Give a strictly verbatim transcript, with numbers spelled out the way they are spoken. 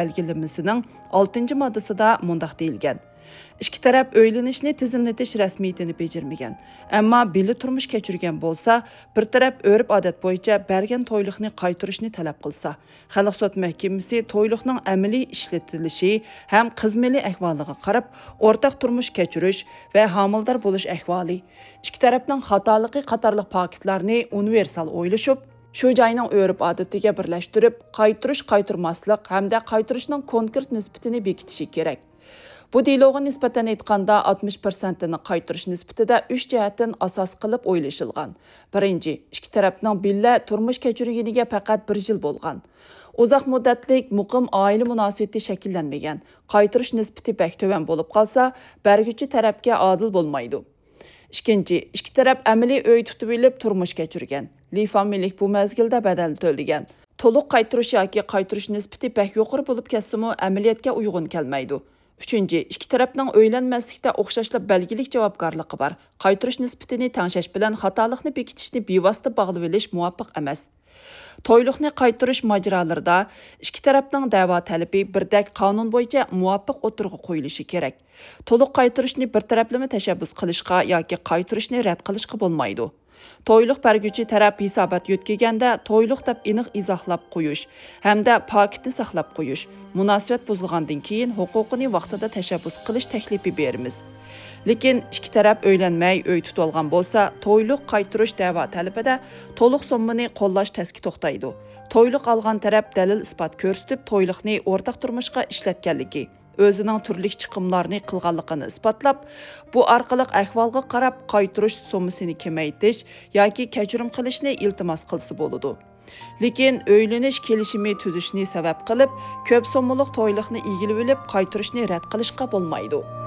بەلگىلىمىسىنىڭ ئالتىنچى ماددىسىدا مۇنداق دېيىلگەن: ئىككى تەرەپ ئۆيلىنىشنى تىزىملىتىش رەسمىيىتىنى بېجىرمىگەن، ئەمما بىللە تۇرمۇش كەچۈرگەن بولسا، بىر تەرەپ ئۆرپ-ئادەت بويىچە بەرگەن تويلۇقنى قايتۇرۇشنى تەلەپ قىلسا، خەلق سوت مەھكىمىسى تويلۇقنىڭ ئەمەلىي ئىشلىتىلىشى ھەم قىز مېلى ئەھۋالىغا قاراپ، ئورتاق تۇرمۇش كەچۈرۈش ۋە ھامىلىدار بولۇش ئەھۋالى، ئىككى تەرەپنىڭ خاتالىقى قاتارلىق پاكىتلارنى ئۇنىۋېرسال ئويلىشىپ، شۇ جاينىڭ ئۆرپ-ئادىتىگە بىرلەشتۈرۈپ، قايتۇرۇش-قايتۇرماسلىق ھەمدە قايتۇرۇشنىڭ كونكرېت نىسبىتىنى بېكىتىشى كېرەك. بۇ دېلوغا نىسبەتەن ئېيتقاندا، ئاتمىش پىرسەنتىنى قايتۇرۇش نىسبىتىدە ئۈچ جەھەتتىن ئاساس قىلىپ ئويلىشىلغان. بىرىنچى، ئىككى تەرەپنىڭ بىللە تۇرمۇش كەچۈرگىنىگە پەقەت بىر يىل بولغان. ئۇزاق مۇددەتلىك، مۇقىم ئائىلە مۇناسىۋىتى شەكىللەنمىگەن، قايتۇرۇش نىسبىتى بەك تۆۋەن بولۇپ قالسا، بەرگۈچى تەرەپكە ئادىل بولمايدۇ. ئىككىنچى، ئىككى تەرەپ ئەمەلىي ئۆي تۇتۇۋېلىپ تۇرمۇش كەچۈرگەن، لى فامىلىلىك بۇ مەزگىلدە بەدەل تۆلىگەن. تولۇق قايتۇرۇش ياكى قايتۇرۇش نىسبىتى بەك يۇقىرى بولۇپ كەتسىمۇ، ئەمەلىيەتكە ئۇيغۇن كەلمەيدۇ. ئۈچىنچى، ئىككى تەرەپنىڭ ئۆيلەنمەسلىكتە ئوخشاشلا بەلگىلىك جاۋابكارلىقى بار. قايتۇرۇش نىسبىتىنى تەڭشەش بىلەن خاتالىقنى بېكىتىشنى بىۋاسىتە باغلىۋېلىش مۇۋاپىق ئەمەس. تويلۇقنى قايتۇرۇش ماجىرالىرىدا ئىككى تەرەپنىڭ دەۋا تەلىپى بىردەك قانۇن بويىچە مۇۋاپىق ئوتتۇرىغا قويۇلۇشى كېرەك. تولۇق قايتۇرۇشنى بىر تەرەپلىمە تەشەببۇس قىلىشقا ياكى قايتۇرۇشنى رەت قىلىشقا بولمايدۇ. تويلۇق بەرگۈچى تەرەپ ھېسابات يۆتكىگەندە تويلۇق دەپ ئېنىق ئىزاھلاپ قويۇش ھەمدە پاكىتنى ساقلاپ قويۇش، مۇناسىۋەت بۇزۇلغاندىن كېيىن ھوقۇقىنى ۋاقتىدا تەشەببۇس قىلىش تەكلىپى بېرىمىز. لېكىن ئىككى تەرەپ ئۆيلەنمەي ئۆي تۇتۇۋالغان بولسا، تويلۇق قايتۇرۇش دەۋا تەلىپىدە تولۇق سوممىنى قوللاش تەسكە توختايدۇ. تويلۇق ئالغان تەرەپ دەلىل-ئىسپات كۆرسىتىپ، تويلۇقنى ئورتاق تۇرمۇشقا ئىشلەتكەنلىكى، ئۆزىنىڭ تۈرلۈك چىقىملارنى قىلغانلىقىنى ئىسپاتلاپ، بۇ ئارقىلىق ئەھۋالغا قاراپ قايتۇرۇش سوممىسىنى كېمەيتىش ياكى كەچۈرۈم قىلىشنى ئىلتىماس قىلسا بولىدۇ. لېكىن ئۆيلىنىش كېلىشىمى تۈزۈشنى سەۋەب قىلىپ، كۆپ سوممىلىق تويلۇقنى ئىگىلىۋېلىپ قايتۇرۇشنى رەت قىلىشقا بولمايدۇ.